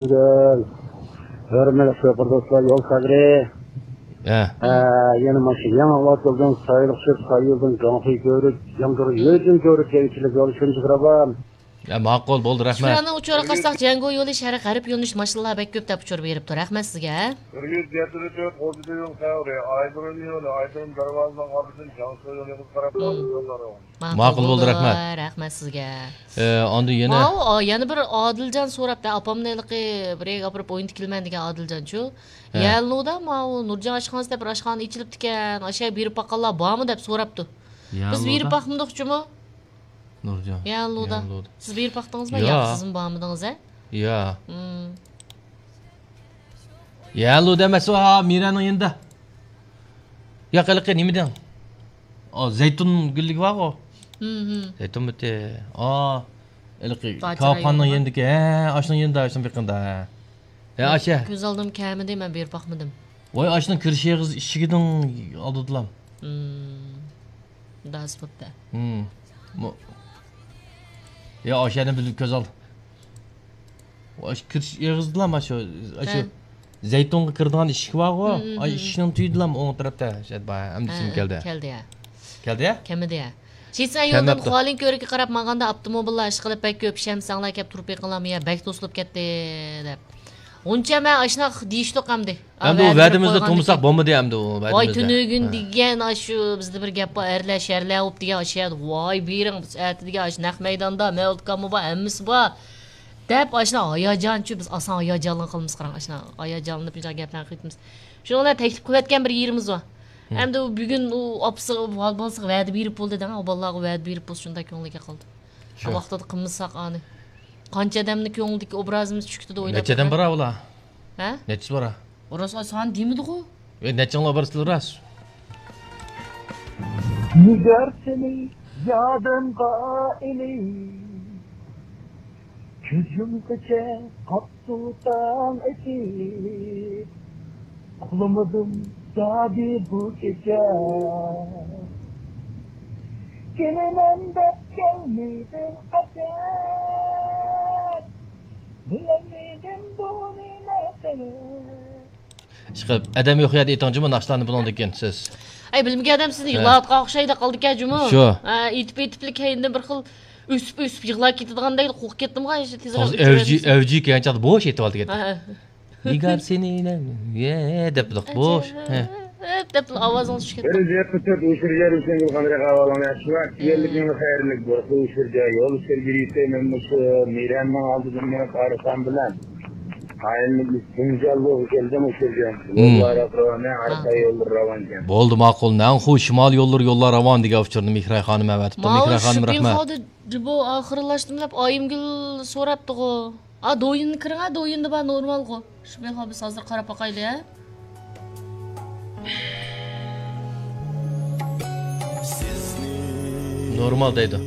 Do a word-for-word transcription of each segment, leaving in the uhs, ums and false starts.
ھۆرمەتلىك شوپۇر دوستلار، يول سەگرى. ھە. ھە، يەنە مانا شۇ يېڭى ئاۋات يولدىن سايلىق چۈشۈپ، ساي يولدىن گاڭخۇي كۆرۈپ، ياڭدۇر يۆجۈن كۆرۈپ، كەيچىلىك يول شۇنچە راۋان. يا، ماقۇل، بولدى، رەھمەت. شۇرانىڭ ئۇچۇرىغا قارىساق، جياڭگو يولى شەرق غەرب يۆنىلىش ماشىنىلار بەك كۆپ دەپ ئۇچۇر بېرىپتۇ. رەھمەت سىزگە. بىر يۈز يەتتە تۆت ئوردىدىن يول سەۋرى، ئايدۇرۇم يولى، ئايدۇرۇم دەرۋازىنىڭ ئالدىدىن جياڭسۇ يولىغا قاراپ ماڭىدۇ. ماقۇل بولدى، رەھمەت. رەھمەت سىزگە. ئە، ئاندىن يەنە ماۋۇ، ئا، يەنە بىر ئادىلجان سوراپتۇ. ئاپامنى ھېلىقى بىر يەرگە ئاپىرىپ ئوينىتىپ كېلىمەن دېگەن ئادىلجانچۇ. ھە. يەنلۇدا ماۋۇ نۇرجان ئاشخانىسى دەپ بىر ئاشخانا ئېچىلىپتىكەن. ئاشۇ يەرگە بېرىپ باققانلار بارمۇ دەپ سوراپتۇ. بىز بېرىپ باقمىدۇق جۇمۇ. نۇرجان. يەنلۇدا. يەنلۇدا. سىز بېرىپ باقتىڭىزمۇ؟ ياق. ياق، سىزمۇ بارمىدىڭىز، ھە؟ ياق. مم. يەنلۇدا ئەمەس، ھا، مىرەنىڭ يېنىدا. ياق، ھېلىقى نېمە دەڭ؟ ئا، زەيتۇن گۈللۈكى بارغۇ. مم، مم. زەيتۇن بۇتى. ئا، ھېلىقى كاۋاپخانىنىڭ يېنىدىكى. ھە، ئاشۇنىڭ يېنىدا، ئاشۇنىڭ بېقىندا. ھە. ھە، ئاشۇ. كۆز ئالدىم كەلمىدى، مەن بېرىپ باقمىدىم. ۋاي، ئاشۇنىڭ كىرىش ئېغىز ئىشىكىنىڭ ئالدىدىلا. مم. داس بوپتۇ. مم. مو-، يا، ئاشۇ يەرنى بىر كۆز ئال. ئاشۇ كىرىش ئېغىزىدىلا، مانا شۇ، ئاشۇ زەيتۇنغا كىرىدىغان ئىشىك بارغۇ. مم، مم، ئاشۇ ئىشىكنىڭ تۈۋىدىلا، ئوڭ تەرەپتە شۇ يەر بار. ئەمدى ھە، ئېسىمگە كەلدى. كەلدى يا. كەلدى يا؟ كەلمىدى يا. شىسەن يولدىن خۇالىن كۆۋرۈكىگە قاراپ ماڭغاندا ئاپتوموبىللار ئىشقىلىپ بەك كۆپ، ئىشەنمىسەڭلار كەپ تۇرۇپ بېقىڭلارمۇ يا، بەك توسۇلۇپ كەتتى دەپ. ئۇنچە مەن ئاشۇنداق دېيىشتۇق ئەمدى. ئەمدى ئۇ ۋەدىمىزنى تۇرمىساق بولمىدى ئەمدى ئۇ ۋەدىمىزنى. ۋاي، تۈنۈگۈن دېگەن ئاشۇ بىزدە بىر گەپ بار، ئەرلەر شەرلەر بولۇپ دېگەن ئاشۇ يەردە، ۋاي، بېرىڭ، بىز ئەتە دېگەن ئاشۇ نەق مەيداندا مەۋلۇت ئاكاممۇ بار، ھەممىسى بار دەپ، ئاشۇنداق ھاياجانچۇ، بىز ئاسان ھاياجانلىنىپ قالىمىز، قاراڭ، ئاشۇنداق ھاياجانلىنىپ شۇنداق گەپلەرنى قىلىۋېتىمىز. شۇنىڭ بىلەن تەكلىپ قىلىۋەتكەن بىر يېرىمىز بار. ئەمدى ئۇ بۈگۈن ئۇ ئاپىسىغا، بالىسىغا ۋەدە بېرىپ بولدى دەڭ، ئۇ بالىلارغا ۋەدە بېرىپ بولسا شۇنداق كۆڭلىگە قالدى. شۇ ۋاقتىدا قىلمىساق ئانى. قانچە ئادەمنىڭ كۆڭلىدىكى ئوبرازىمىز چۈشكىتىدە ئويلاپ نەچچە ئادەم بار ئۇلار؟ ھە؟ نەچچىسى بار؟ ئورۇس سان دېمىدىغۇ. ئەي، نەچچىڭلار بارسىلەر راست؟ نىگار سېنى يادىمغا ئېلىپ، كۆز يۇمغىچە قاپتۇ تاڭ ئېتىپ. ئۇخلىمىدىم زادى بۇ كېچە. كېلىمەن دەپ كەلمىدىڭ قاچان؟ بىلەلمىدىم بۇنى نەقىل. ئىشقىلىپ، ئادەم يوق يەردە ئېيتىڭ جۇمۇ ناخشىلارنى بۇنىڭدىن كېيىن سىز. ئەي، بىلمىگەن ئادەم سىزنى ھە. يىغلاۋاتقان ئوخشايدۇ قالدىكەن جۇمۇ. شۇ. ھە، ئېيتىپ، ئېيتىپلا كەينىدىن بىر خىل ئۆسۈپ، ئۆسۈپ يىغلاپ كېتىدىغاندەك قورقۇپ كەتتىمغۇ، تېزراق توغرا، ئۆتۈپ ئەۋجى، بېرىسىز. ئەۋجى كەلگەن چاغدا بوش ئېيتىۋالدى. ھە، ھە. نىگار سېنى، يە، دەپ بىلدۇق، بوش. ھە. ئەپ دەپلا ئاۋازىڭىز چۈشۈپ كەتتى. بىر زىيارەت كۆرسەت ئۇشۇرجا ھۈسەن گۈلخان رەقەۋالىڭ ياخشىما؟ كىيەنلىكىڭ خەيرلىك بولسۇن ئۇشۇرجا. يول ئۈستىدە يۈرۈشتە مەن مۇشۇ مىرەننىڭ ئالدىدىن مېڭىپ ئارقام بىلەن قايىللىق جىڭجاللىغا كەلدىم ئۇشۇرجا. يوللار راۋان، ئارقا يوللار راۋانكەن. بولدى، ماقۇل. نەنخۇ شىمال يوللىرى يوللار راۋان دېگەن ئۇچۇرنى مېھراي خانىم ئەۋەتىپتۇ. مېھراي خانىم، رەھمەت. شۇپىخادى جۇبو ئاخىرلاشتىم دەپ ئايىمگۈل سوراپتىغۇ. ئا، دويىننى كىرىڭ، ھە، دويىندا بار، نورمالغۇ. شۇپىخا بىز ھازىر قاراپ باقايلى، ھە. نورمال دەيدۇ.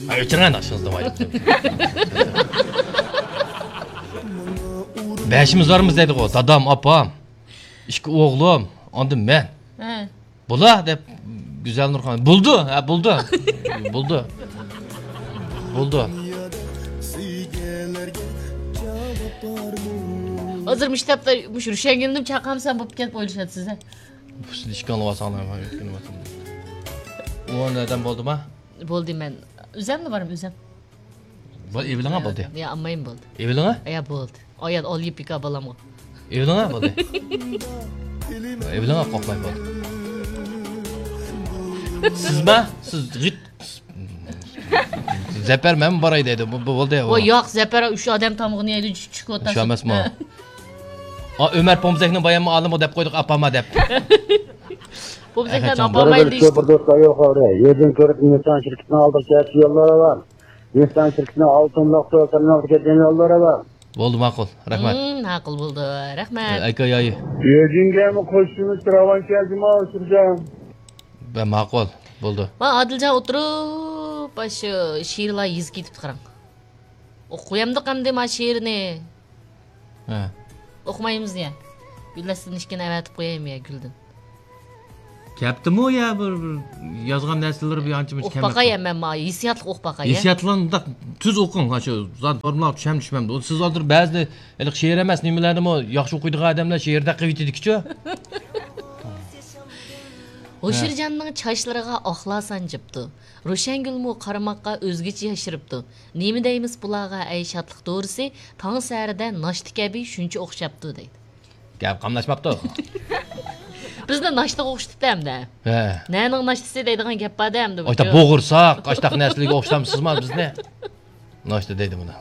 ھە، ئۆچۈرۈڭ ناخشىڭىزنى، ۋاي. بەشىمىز بارمىز دەيدىغۇ، دادام، ئاپام، ئىككى ئوغلۇم، ئاندىن مەن. ھە. بولا دەپ گۈزەل نۇرخان. بولدى، ھە، بولدى. بولدى. بولدى. ھازىر مۇشۇ تاپتا مۇشۇ رۇشەنگۈلنىمۇ چاقىرمىسام بوپتىكەن دەپ ئويلىشىۋاتىسىز، ھە؟ سىز ئىككىڭلار بارساڭلار، مەن ئۆتكىنىۋاتىمەن. ئون ئادەم بولدىما؟ بولدى، مەن ئۆزەملا بارىمەن، ئۆزەم. بۇ ئېۋىلىڭا بولدى. يا، ئاممايىم بولدى. ئېۋىلىڭا؟ يا، بولدى. ئايال ئالىيىپ بىكار بالامغا. ئېۋىلىڭا بولدى. ئېۋىلىڭا قورقماي بولدى. سىزما؟ سىز غىت. زەپەر مەنمۇ باراي دەيدۇ. بۇ، بۇ بولدى. ۋاي ياق، زەپەر ئۈچ ئادەم تامىقىنى يەيدۇ، چۈشۈپ ئولتۇرسۇن. شۇ ئەمەسمۇ؟ ھە. ئا، ئۆمەر پومزەكنىڭ باياممۇ ئالىمغا دەپ قويدۇق، ئاپاما دەپ. پومزەكلەرنى ئاپاما دەيسىز. بىر بىر دوستلار يوق ئەۋرە. يېزىدىن كۆرۈپ، نىسان شىركىتىنىڭ ئالدىغا كەلسە يوللار بار. نىسان شىركىتىنىڭ ئالتۇنلۇق تۆت تەرمىنالغا كەتكەن يوللار بار. بولدى، ماقۇل. رەھمەت. مم، ماقۇل بولدى. رەھمەت. ئەكە يايى. يېزىڭگەمۇ قوشۇلۇش راۋان كەلدىما، ئۇشۇرجان؟ بە، ماقۇل. بولدى. ما ئادىلجان ئولتۇرۇپ، شۇ شېئىرلار يېزىپ كېتىپتۇ، قاراڭ. ئوقۇيامدۇق ئەمدى ما شېئىرنى. ھە. ئوقۇمايمىز يا. گۈلدىن ئىككىنى ئەۋەتىپ قويايمۇ يا گۈلدىن؟ دەپتىمۇ يا بىر، بىر يازغان نەرسىلىرى بىر ئانچە مۇنچە ئوقۇپ باقاي، مەن مانا ھېسسىياتلىق ئوقۇپ باقاي، يا. ھېسسىياتلارنى مۇنداق تۈز ئوقۇڭ، ھە، شۇ زادى فورمۇلاغا چۈشەم چۈشمەمدۇ. سىز ھازىر بەزىدە ھېلىقى شېئىر ئەمەس، نېمىلەردىمۇ ياخشى ئوقۇيدىغان ئادەملەر شېئىردەك قىلىۋېتىدىكىچۇ. ھوشۇرجاننىڭ چاچلىرىغا ئاقلار سانجىپتۇ. روشەنگۈلمۇ قارىماققا ئۆزگىچە ياشىرىپتۇ. نېمە دەيمىز بۇلارغا، ئەي شادلىق دورىسى، تاڭ سەھەردە ناشتا كەبى شۇنچە ئوخشاپتۇ، دەيدۇ. گەپ قاملاشماپتۇ. بىزنى ناشتىغا ئوخشىتىپتۇ ئەمدى. ھە. نەنىڭ ناشتىسى دەيدىغان گەپ بار-دە ئەمدى بۇ. ئاشتا بوغۇرساق، ئاشتاق نەرسىلەرگە ئوخشىتامسىزما بىزنى؟ ناشتا دەيدۇ بۇنى.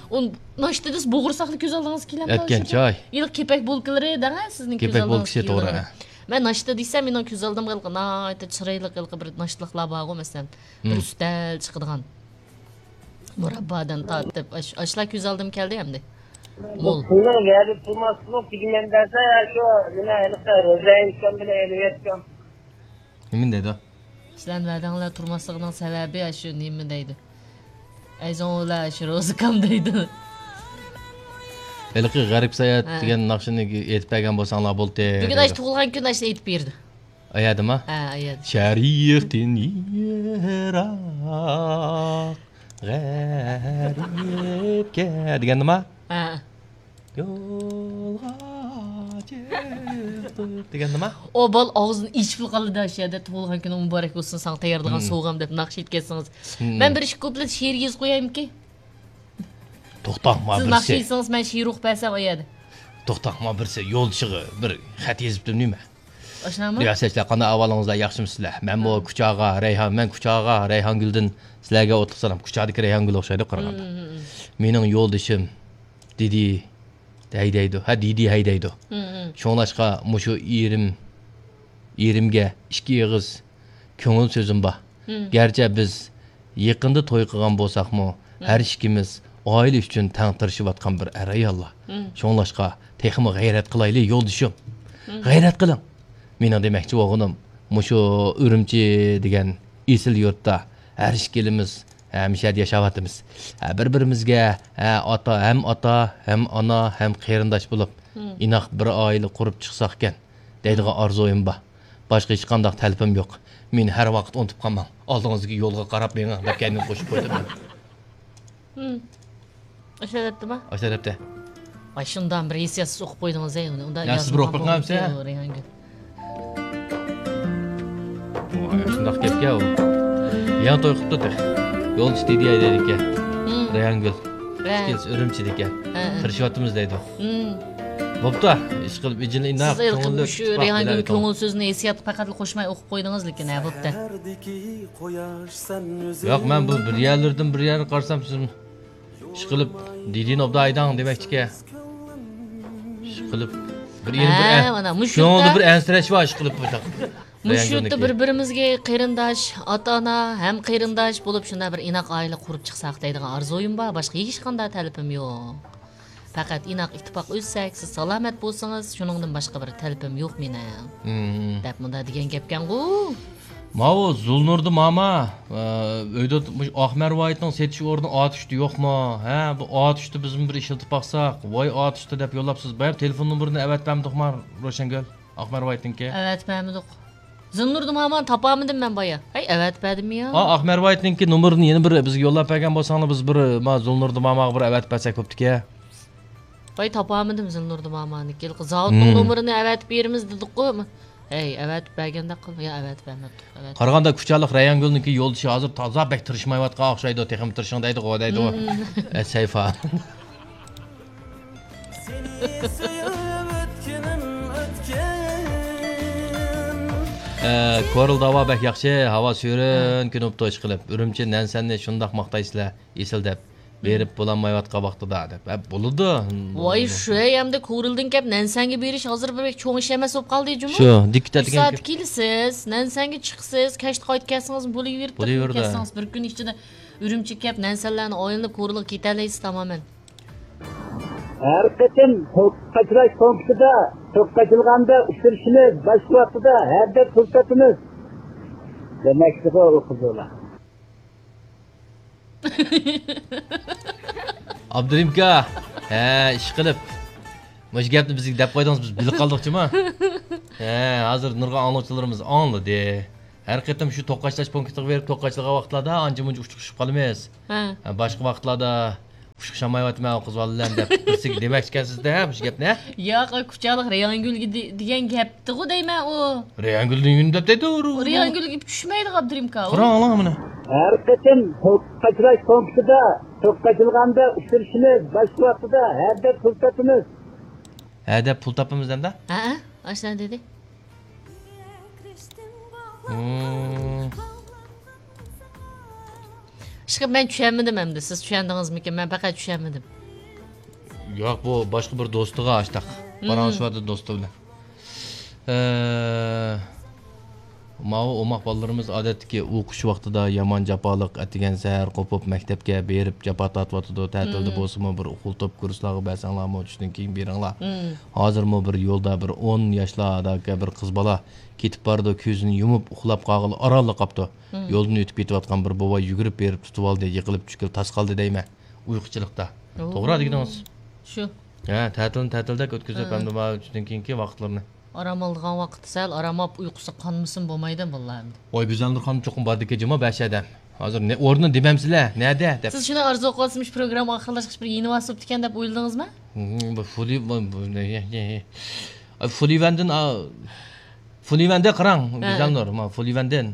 ئۇ ناشتا دېسە بوغۇرساقلا كۆز ئالدىڭىزغا كېلەمدۇ؟ ئەتكەن چاي. ھېلىقى كېپەك بولكىلىرى دەڭە سىزنىڭ كېپەك كۆز ئالدىڭىزغا بولكىسى، توغرا. كېلىدۇ. مەن ناشتا دېسەم، مېنىڭ كۆز ئالدىمغا ھېلىقى ناھايىتى چىرايلىق ھېلىقى بىر ناشتىلىقلار بارغۇ، مەسىلەن، بىر ئۈستەل چىقىدىغان. مۇراببادىن تارتىپ، ئاش-، ئاشۇلار كۆز ئالدىمغا كەلدى ئەمدى. مول. پۇلنىڭ يەردە تۇرماسلىقى تۈگىمەن دەسە، شۇ نېمە، ھېلىقى روزا ئېيتكان بىلەن ئېلىۋەتكەن. نېمە دەيدۇ؟ سىلەرنىڭ ۋەدەڭلار تۇرماسلىقىنىڭ سەۋەبى شۇ نېمە دەيدۇ؟ ئەيزوڭلار شۇ روزىكام دەيدۇ. ھېلىقى غەرىب ساياھەت ھە. دېگەن ناخشىنى ئېيتىپ بەرگەن بولساڭلار بولدى. بۈگۈن ئاشۇ دەيدۇ. تۇغۇلغان كۈن ئاشۇنى ئېيتىپ بېرىدۇ. ئايادىما؟ ھە، ئاياد. شەرىقتىن يىراق غەرىبكە دېگەندىما؟ ھە. يولغا چىقتۇق دېگەندىما؟ ئۇ بالا ئاغزىنى ئېچىپلا قالدى شۇ يەردە، تۇغۇلغان كۈنۈڭ مۇبارەك بولسۇن، ساڭا تەييارلىغان سوۋغام دەپ ناخشا ئېيتكەنسىڭىز. مەن بىر ئىككى كۇپلېت شېئىر يېزىپ قويايمىكى؟ توختاڭ، ما سىز بىرسى. ناخشا ئېيتسىڭىز، مەن شېئىر ئوقۇپ بەرسەم ئۇ يەردە. توختاڭ، ما بىرسى يولدىشىغا بىر خەت يېزىپتۇ نېمە؟ ئاشۇنداقمۇ؟ رىياسەتچىلەر، قانداق ئەھۋالىڭىزلار، ياخشىمۇسىلەر؟ مەنمۇ كۇچاغا رەيھان، مەن كۇچاغا رەيھانگۈلدىن سىلەرگە ئوتلۇق سالام. كۇچادىكى رەيھانگۈل ئوخشايدۇ قارىغاندا. مېنىڭ يولدىشىم دىدى ھەيدەيدۇ. ھە، دىدى ھەيدەيدۇ. شۇڭلاشقا مۇشۇ ئېرىم، ئېرىمگە ئىككى ئېغىز كۆڭۈل سۆزۈم بار. گەرچە بىز يېقىندا توي قىلغان بولساقمۇ، ھەر ئىككىمىز ئائىلە ئۈچۈن تەڭ تىرىشىۋاتقان بىر ئەر-ئاياللار. شۇڭلاشقا تېخىمۇ غەيرەت قىلايلى، يولدىشىم. غەيرەت قىلىڭ. مېنىڭ دېمەكچى بولغىنىم، مۇشۇ ئۈرۈمچى دېگەن ئېسىل يۇرتتا ھەر ئىككىلىمىز ھەمىشە يەردە ياشاۋاتىمىز. ھە، بىر-بىرىمىزگە، ھە، ئاتا، ھەم ئاتا، ھەم ئانا، ھەم قېرىنداش بولۇپ، ئىناق بىر ئائىلە قۇرۇپ چىقساقكەن دەيدىغان ئارزۇيۇم بار. باشقا ھېچقانداق تەلىپىم يوق. مېنى ھەر ۋاقىت ئۇنتۇپ قالماڭ. ئالدىڭىزدىكى يولغا قاراپ مېڭىڭ دەپ كەينىدىن قوشۇپ قويدۇم مەن. ئاشۇ دەپتىما؟ ئاشۇ دەپتە. ۋاي، شۇنداق بىر ھېسسىياتسىز ئوقۇپ قويدىڭىز-ھەي ئۇنى. ئۇنداق يا، سىز بىر ئوقۇپ بېقىڭ ئەمىسە. رەيھانگۈل. ۋاي، شۇنداق گەپكەن ئۇ. يېڭى توي قىپتۇ تېخى. يولدىشى دىدى ھەيدەيدىكەن. رەيھانگۈل. ئىككىلىسى ئۈرۈمچىدىكەن. تىرىشىۋاتىمىز دەيدۇ. بوپتۇ، ئىشقىلىپ ئىجىنى ئىنداق. سىز ھېلىقى كۆڭۈللۈك مۇشۇ رەيھانگۈل كۆڭۈل سۆزىنى ھېسسىياتقا پەقەتلا قوشماي ئوقۇپ قويدىڭىز لېكىن، ھە، بوپتۇ. ياق، مەن بۇ بىر يەرلىرىدىن بىر يەرگە قارىسام، سىز ئىشقىلىپ دىدىنى ئوبدان ھەيدەڭ دېمەكچىكەن. ئىشقىلىپ بىر يەنە بىر ھە، مانا مۇشۇ كۆڭۈلدە بىر ئەنسىرەش بار، ئىشقىلىپ بۇ. مۇشۇ يۇرتتا بىر-بىرىمىزگە قېرىنداش، ئاتا-ئانا ھەم قېرىنداش بولۇپ، شۇنداق بىر ئىناق ئائىلە قۇرۇپ چىقساق دەيدىغان ئارزۇيۇم بار، باشقا ھېچقانداق تەلىپىم يوق. پەقەت ئىناق ئىتتىپاق ئۆتسەك، سىز سالامەت بولسىڭىز، شۇنىڭدىن باشقا بىر تەلىپىم يوق مېنىڭ. دەپ مۇنداق دېگەن گەپكەنغۇ. ماۋۇ زۇلنۇردى ماما، ئە، ئۆيدە مۇشۇ ئاق مەرۋايىتنىڭ سېتىش ئورنى ئاتۇشتا يوقمۇ؟ ھە، بۇ ئاتۇشتا بىزمۇ بىر ئىشلىتىپ باقساق. ۋاي ئاتۇشتا دەپ يوللاپسىز. بايام تېلېفون نومۇرىنى ئەۋەتىپ بەرمىدۇقما روشەنگۈل؟ ئاق مەرۋايىتنىڭكى. ئەۋەتىپ بەرمىدۇق. زىلنۇردى ماما تاپالمىدىم مەن بايا. ھەي، ئەۋەتىپ بەردىممۇ يا؟ ئا، ئاق مەرۋايىتنىڭكى نومۇرىنى يەنە بىر بىزگە يوللاپ بەرگەن بولساڭلار، بىز بىر، ما، زىلنۇردى ماماغا بىر ئەۋەتىپ بەرسەك بوپتىكەن. باي تاپالمىدىم زىلنۇردى مامانىڭكى. زاۋۇتنىڭ نومۇرىنى ئەۋەتىپ بېرىمىز دېدۇققۇ. ھەي، ئەۋەتىپ بەرگەندەك قىل. يا، ئەۋەتىپ بەرمەپتۇ. قارىغاندا كۇچالىق رەيھانگۈلنىڭكى يولدىشى ھازىر تازا بەك تىرىشمايۋاتقان ئوخشايدۇ، تېخىمۇ تىرىشىڭ دەيدىغۇ، دەيدىغۇ. ئە، سەيفا. ئە، كورل داۋا بەك ياخشى، ھاۋا سۈرۈن كۈنى بوپتۇ، ئىشقىلىپ. ئۈرۈمچى نەنسەننى شۇنداق ماختايسىلەر، ئېسىل دەپ. بېرىپ بولالمايۋاتقان ۋاقتىدا دەپ. ئە، بولىدۇ. ۋاي، شۇ ئەمدى كورلدىن كەپ نەنسەنگە بېرىش ھازىر بىر چوڭ ئىش ئەمەس بولۇپ قالدى جۇمۇ. شۇ، دىككىتە ئۈچ سائەتتە كېلىسىز، نەنسەنگە چىقىسىز، كەچتە قايتىپ كەلسىڭىز بولۇۋېرىدۇ. بولۇۋېرىدۇ. كەلسىڭىز بىر كۈن ئىچىدە ئۈرۈمچىگە كەپ نەنسەنلەرنى ئايلىنىپ كورلىغا كېتەلەيسىز تامامەن. ھەر قېتىم توك قاچىلاش پونكىتىدا، توك قاچىلغاندا ئۇچرىشىمىز، باشقا ۋاقتىدا ھەردەم پۇرسەتىمىز. دېمەكچىغۇ ئۇ قىزلار. ئابدۇرېھىمكا، ھە، ئىشقىلىپ. مۇشۇ گەپنى بىزگە دەپ قويدىڭىز، بىز بىلىپ قالدۇق جۇمۇ. ھە، ھازىر نۇرغۇن ئاڭلىغۇچىلىرىمىز ئاڭلىدى. ھەر قېتىم شۇ توقاچلاش پۇنكىتىغا بېرىپ توقاچلىغان ۋاقىتلاردا ئانچە-مۇنچە ئۇچۇقۇشۇپ قالىمىز. ھە. ھە، باشقا ۋاقىتلاردا ئۇچۇقشالمايۋاتىمەن ئۇ قىز بالا بىلەن دەپ بىرسىگە دېمەكچىكەنسىز-دە بۇ گەپنى، ھە؟ ياق، كۇچالىق رەيھانگۈلگە دې-، دېگەن گەپتىغۇ دەيمەن ئۇ. رەيھانگۈل دېگەن دەپ دەيدۇ. رەيھانگۈلگە چۈشمەيدۇ ئابدۇرېھىم ئاكا ئۇ. قاراڭ، ئاڭلاڭ مانا. ھەر قېتىم توقاچلاش پۇنكىتىدا توقاچلىغاندا ئۇچرىشىمىز، باشقا ۋاقتىدا ھەدەپ پۇل تاپىمىز. ھەدەپ پۇل تاپىمىز دەمدە؟ ھەئە، ئاشۇنداق دېدى. مم. ئىشقىلىپ مەن چۈشەنمىدىم ئەمدى. سىز چۈشەندىڭىزمىكىن؟ مەن پەقەت چۈشەنمىدىم. ياق، بۇ باشقا بىر دوستىغا ئاشتاق. مم. پاراڭلىشىۋاتىدۇ دوستى بىلەن. ئە، ماۋۇ ئوماق بالىلىرىمىز ئادەتتىكى ئوقۇش ۋاقتىدا يامان جاپالىق، ئەتىگەن سەھەر قوپۇپ مەكتەپكە بېرىپ جاپا تارتىۋاتىدۇ. تەتىلدە مم. بولسىمۇ بىر ئۇخلىتىپ كۇرسلارغا بەرسەڭلارمۇ چۈشتىن كېيىن بېرىڭلار. مم. ھازىرمۇ بىر يولدا بىر ئون ياشلار ئاداكە بىر قىز بالا كېتىپ بارىدۇ، كۆزىنى يۇمۇپ ئۇخلاپ قالغىلى ئارانلا قاپتۇ. مم. يولدىن ئۆتۈپ كېتىۋاتقان بىر بوۋاي يۈگۈرۈپ بېرىپ تۇتۇۋالدى، يىقىلىپ چۈشكىلى تاس قالدى دەيمەن. ئۇيقۇچىلىقتا. ئوو. توغرا دېگىنىڭىز. شۇ. ھە، تەتىلنى تەتىلدەك ئۆتكۈزۈپ، ھە. ئەمدى مانا چۈشتىن كېيىنكى ۋاقىتلىرىنى. ئارام ئالىدىغان ۋاقىتتا سەل ئارام ئاپ، ئۇيقۇسى قانمىسىمۇ بولمايدۇ بالىلار ئەمدى. ۋاي، گۈزەلنۇر خانىم چوقۇم باردىكى جۇما بەش ئادەم. ھازىر نە، ئورنىنى دېمەمسىلەر، نەدە دەپ. سىز شۇنى ئارزۇ قىلىۋاتسىمۇ، شۇ پروگرامما ئاخىرلاشقىچە بىر يېنىۋالسا بوپتىكەن دەپ ئويلىدىڭىزمۇ؟ ھىم، بۇ فۇلى-، بۇ، بۇ، نە، نە، نە. ئا، فۇلىۋەندىن، ئا، فۇلىۋەندە قاراڭ، ھە. گۈزەلنۇر، ما، فۇلىۋەندىن.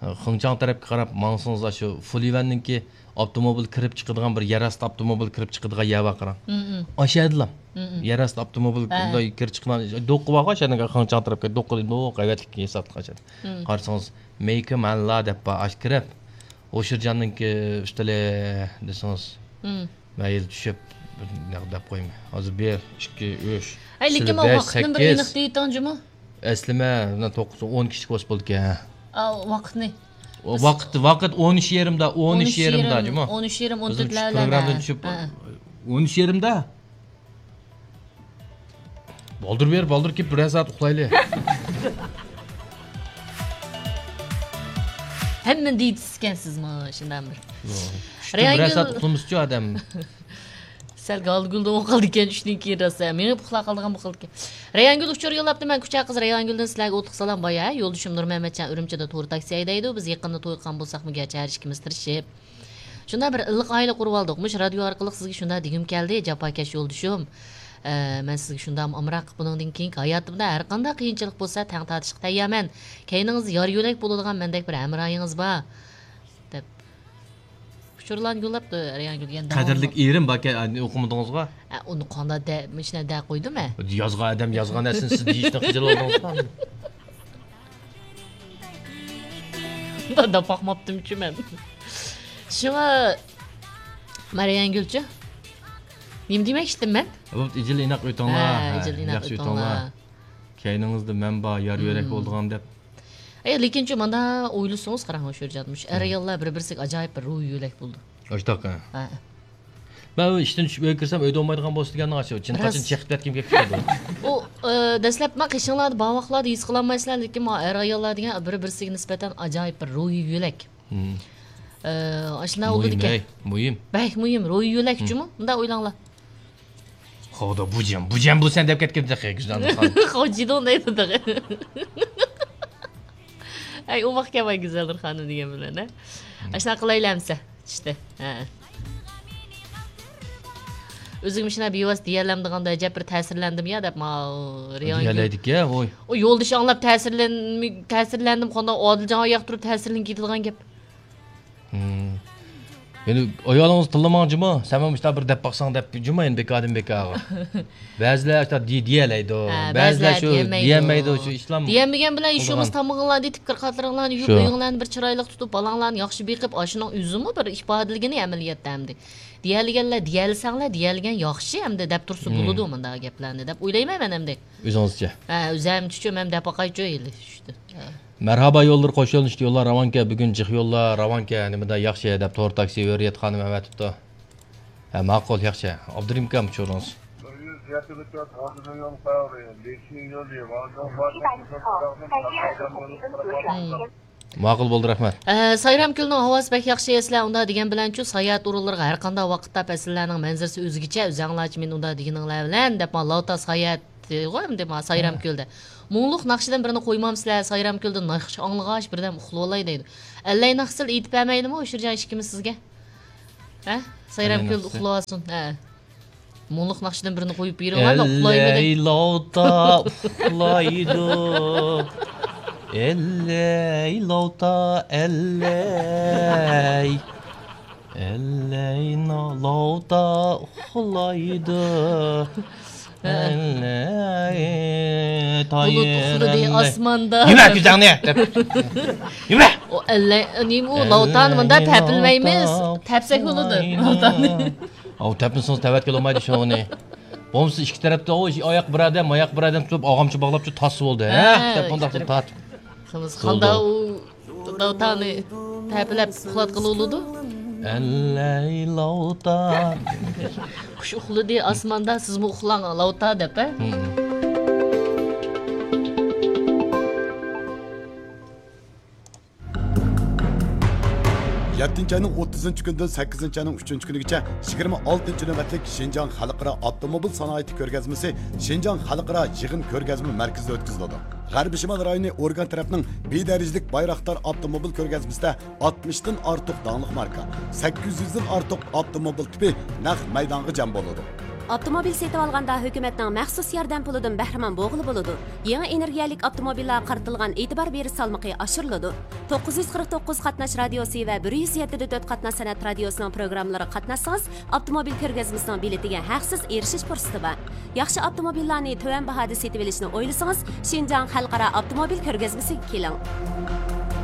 خېڭچاڭ تەرەپكە قاراپ ماڭسىڭىز، ئاشۇ فۇلىۋەننىڭكى ئاپتوموبىل كىرىپ چىقىدىغان بىر يەر ئاستى ئاپتوموبىل كىرىپ چىقىدىغان يەر بار قاراڭ. مم، مم. ئاشۇ يەردىلا. مم، مم. يەر ئاستى ئاپتوموبىل ھە. مۇنداق كىرىپ چىقىدىغان دوققا بارغۇ، ئاشۇ يەرنىڭ خېڭچاڭ تەرەپكە دوققا دېدى، ئەۋەتلىك ھېسابلىق ئاشۇ. مم. قارىسىڭىز، مېيكى مەنلا دەپ بار، ئاشۇ كىرىپ، ھوشۇرجاننىڭكى ئۈستىلى دېسىڭىز، مم. مەيلى چۈشۈپ، بىر نەق دەپ قويماي. ھازىر بىر، ئىككى، ئۈچ، ھەي، لېكىن ئۈستىلى ماۋۇ بەش، ۋاقىتنى بىر سەككىز. ئېنىق دېيىتىڭ جۇمۇ. ئەسلىمە، مانا توققۇز، ئون كىشىلىك بولسا بولىدىكەن. ئا، ۋاقىتنى. ۋاقىت، ۋاقىت ئون ئۈچ يېرىمدا، ئون ئۈچ يېرىمدا، جۇمۇ. ئون ئۈچ يېرىم، ئون تۆت. ئۆزىمىز شۇ پروگراممىدىن چۈشۈپ، ھە. ئون ئۈچ يېرىمدا. بالدۇر بېرىپ، بالدۇر كېلىپ، بىرەر سائەت ئۇخلايلى. ھەممىنى دېيىسىزكەن سىزمۇ، شۇنداق بىر. يوق. چۈشتىن بىرەر سائەت ئۇخلىمىسىچۇ ئادەم. سەل گالدىگۈلدىن ئوقۇلدىكەن، چۈشتىن كېيىن راسا مېڭىپ ئۇخلاپ قالىدىغان بولۇپ قالىدىكەن. رەيھانگۈل ئۇچۇر يوللاپتۇ، مەن كۇچا قىزى رەيھانگۈلدىن سىلەرگە ئوتلۇق سالام. بايا يولدىشىم نۇرمەمەتجان ئۈرۈمچىدە تور تاكسى ھەيدەيدۇ. بىز يېقىندا توي قىلغان بولساقمۇ گەرچە ھەر ئىككىمىز تىرىشىپ شۇنداق بىر ئىللىق ئائىلە قۇرۇۋالدۇق. مۇشۇ رادىيو ئارقىلىق سىزگە شۇنداق دېگۈم كەلدى، جاپاكەش يولدىشىم. ئە، مەن سىزگە شۇنداقمۇ ئامراق، بۇنىڭدىن كېيىنكى ھاياتىمدا ھەر قانداق قىيىنچىلىق بولسا تەڭ تارتىشقا تەييارمەن. كەينىڭىزدە يار يۆلەك بولىدىغان مەندەك بىر ھەمراھىڭىز بار، دەپ. ئۇچۇرلارنى يوللاپتۇ رەيھانگۈل دېگەن. قەدىرلىك ئېرىم باركەن، ئوقۇمىدىڭىزغۇ؟ ئە، ئۇنى قانداق دە-، مۇشۇنداق دەپ قويدۇم مەن. يازغان ئادەم يازغان نەرسىنى سىز دېيىشتىن خىجىل بولدىڭىزغۇ؟ داپ باقماپتىمچۇ مەن. شۇڭا، مەريەنگۈلچۇ؟ نېمە دېمەكچىدىم مەن؟ بوپتۇ، ئىجىل ئىناق ئۆتۈڭلار. ھە، ھە، ئىجىل ئىناق ياخشى ئۆتۈڭلار. كەينىڭىزدە مەن بار، يار يۆلەك بولىدىغان دەپ. ئەي، لېكىنچۇ، مانا ئويلىسىڭىز، قاراڭ، شۇ جان، مۇشۇ ئەر-ئاياللار بىر-بىرسىگە ئاجايىپ بىر روھى يۆلەك بولىدۇ. ئاشتاق، ھە. ھە. مەن ئىشتىن چۈشۈپ ئۆيگە كىرسەم، ئۆيدە بولمايدىغان بولسا دېگەننىڭ ئاشۇ چىنقاچىنى چېقىپ كەتكۈم كېلىپ كېتىدۇ. ئۇ، ئە، دەسلەپ مانا قېشىڭلاردا بار ۋاقىتلاردا ھېس قىلالمايسىلەر، لېكىن مانا ئەر-ئاياللار دېگەن بىر-بىرسىگە نىسبەتەن ئاجايىپ بىر روھى يۆلەك. ئە، ئاشۇنداق بولىدىكەن. مۇھىم، ھەي، مۇھىم. بەك مۇھىم، روھى يۆلەكچىمۇ؟ مۇنداق ئويلاڭلار. خاۋدا بۇجەم، بۇجەم بۇ سەن دەپ كەتكەن تېخى گۈزەلنۇر خانىم. خاۋجىدۇڭ دەيدۇ تېخى. ئەي، ئوماق كەلمەي گۈزەلنۇر خانىم دېگەن بىلەن، ھە؟ ئاشۇنداق قىلايلى ئەمسە. چۈشتى. ھە. ئۆزۈم شۇنداق بىۋاسىتە دېيەلەمدىغاندا ئەجەب بىر تەسىرلەندىم يا دەپ، ماۋۇ رېئال دېيەلەيدىكەن، ۋوي. ئۇ يولدىشى ئاڭلاپ تەسىرلەنمە-، تەسىرلەندىم، قانداق ئادىلجان ئاياق تۇرۇپ تەسىرلىنىپ كېتىدىغان گەپ. ھىم. يەنە ئايالىڭىز تىللىماڭ جۇمۇ، سەن مۇشۇنداق بىر دەپ باقساڭ دەپ جۇمۇ، يەنە بىكاردىن بىكارغا. بەزىلەر ئاشۇنداق دېي-، دېيەلەيدۇ، ھە، بەزىلەر بەزىلەر شۇ دېيەلمەيدۇ. دېيەلمەيدۇ، شۇ ئىشلار. دېيەلمىگەن بىلەن يۇمۇرۇڭلارنى تېپىپ، كىر قاتلىرىڭلارنى يۇيۇپ، شۇ. ئۆيۈڭلارنى بىر چىرايلىق تۇتۇپ، بالاڭلارنى ياخشى بېقىپ، ئاشۇنىڭ ئۆزىمۇ بىر ئىپادىلىگىنى ئەمەلىيەتتە ئەمدى. دېيەلىگەنلەر دېيەلسەڭلار، دېيەلگەن ياخشى ئەمدى دەپ تۇرسا ھىم. بولىدۇ مۇنداق گەپلەرنى دەپ ئويلايمەن مەن ئەمدى. ئۆزىڭىزچە؟ ھە، ئۆزەمچىچۇ، مەن دەپ باقايچۇ ھېلى شۇ. ھە. مەرھابا يوللىرى قوش يۆنىلىشتە يوللار راۋانكەن، بۈگۈن جىق يوللار راۋانكەن، نېمىدا ياخشى دەپ تور تاكسى ھۆرىيەت خانىم ئەۋەتىپتۇ. ھە، ماقۇل، ياخشى. ئابدۇرېھىم ئاكام ئۇچۇرىڭىز. بىر يۈز يەتتە يول قاراۋۇلى، بېشىنىڭ يولى، ۋاڭجۇڭ باشقا. مم. ماقۇل بولدى، رەھمەت. ئە، سايرام كۆلىنىڭ ھاۋاسى بەك ياخشى، سىلەر ئۇنداق دېگەن بىلەنچۇ، ساياھەت ئورۇنلىرىغا ھەر قانداق ۋاقىتتا پەسىللەرنىڭ مەنزىرىسى ئۆزگىچە، ئۆزەڭلارچە مېنى ئۇنداق دېگىنىڭلار بىلەن دەپ، مانا لاۋتا ساياھەت غۇ ئەمدى ما سايرام كۆلدە. مۇڭلۇق ناخشىدىن بىرنى قويمامسىلەر؟ سايرام كۆلدە ناخشا ئاڭلىغاچ بىردەم ئۇخلىۋالاي دەيدۇ. ئەللەي ناخشىسىلا ئېيتىپ بەرمەيلىمۇ ئۇشۇرجان ئىككىمىز سىزگە؟ ھە؟ سايرام كۆلدە ئۇخلاۋالسۇن. ھە. مۇڭلۇق ناخشىدىن بىرنى قويۇپ بېرىڭلار، مەن ئۇخلايمەن دەي. ئەللەي لاۋتا ئۇخلايدۇ. ئەللەي لاۋتا، ئەللەي. ئەللەي نا-، لاۋتا ئۇخلايدۇ. ئەللەي بۇلۇت ئۇخلىدى تايىنلەي. ئاسماندا. يېمە كۆزۈڭنى دەپ. يېمە. ئۇ ئەللەي، نېمە ئۇ لاۋتانى مۇنداق تەپىلمەيمىز. تەپسەك بولىدۇ لاۋتانى. ئاۋۇ تەپمىسىڭىز تەۋەتكىلى بولمايدۇ شۇنى. بولمسا ئىككى تەرەپتە ئۇ ئاياق بىر ئادەم، ماياق بىر ئادەم تۇتۇپ، ئاغامچە باغلاپچۇ تاسسا بولدى. ھە؟ ھە، تەپ مۇنداق تارت. قىلىمىز. قانداق ئۇ لاۋتانى تەپىلەپ ئۇخلاتقىلى بولىدۇ؟ ئەللەي لاۋتا. قۇش ئۇخلىدى ئاسماندا، سىزمۇ ئۇخلاڭ لاۋتا دەپ، ھە؟ يەتتىنچى ئاينىڭ ئوتتۇزىنچى كۈنىدىن سەككىزىنچى ئاينىڭ ئۈچىنچى كۈنىگىچە يىگىرمە ئالتىنچى نۆۋەتلىك شىنجاڭ خەلقئارا ئاپتوموبىل سانائىتى كۆرگەزمىسى شىنجاڭ خەلقئارا يىغىن كۆرگەزمە مەركىزىدە ئۆتكۈزۈلىدۇ. غەربىي شىمال رايونى ئورگان تەرەپنىڭ بىر دەرىجىلىك بايراقدار ئاپتوموبىل كۆرگەزمىسىدە ئاتمىشتىن ئارتۇق داڭلىق ماركا، سەككىز يۈزدىن ئارتۇق ئاپتوموبىل تىپى نەق مەيدانغا جەم بولىدۇ. ئاپتوموبىل سېتىۋالغاندا ھۆكۈمەتنىڭ مەخسۇس ياردەم پۇلىدىن بەھرىمەن بولغىلى بولىدۇ. يېڭى ئېنېرگىيەلىك ئاپتوموبىللارغا قارىتىلغان ئېتىبار بېرىش سالمىقى ئاشۇرۇلىدۇ. توققۇز يۈز قىرىق توققۇز قاتناش رادىيوسى ۋە بىر يۈز يەتتە دە تۆت قاتناش سەنئەت رادىيوسىنىڭ پروگراممىلىرىغا قاتناشسىڭىز، ئاپتوموبىل كۆرگەزمىسىنىڭ بېلىتىگە ھەقسىز ئېرىشىش پۇرسىتى بار. ياخشى ئاپتوموبىللارنى تۆۋەن باھادا سېتىۋېلىشنى ئويلىسىڭىز، شىنجاڭ خەلقئارا ئاپتوموبىل كۆرگەزمىسىگە كېلىڭ.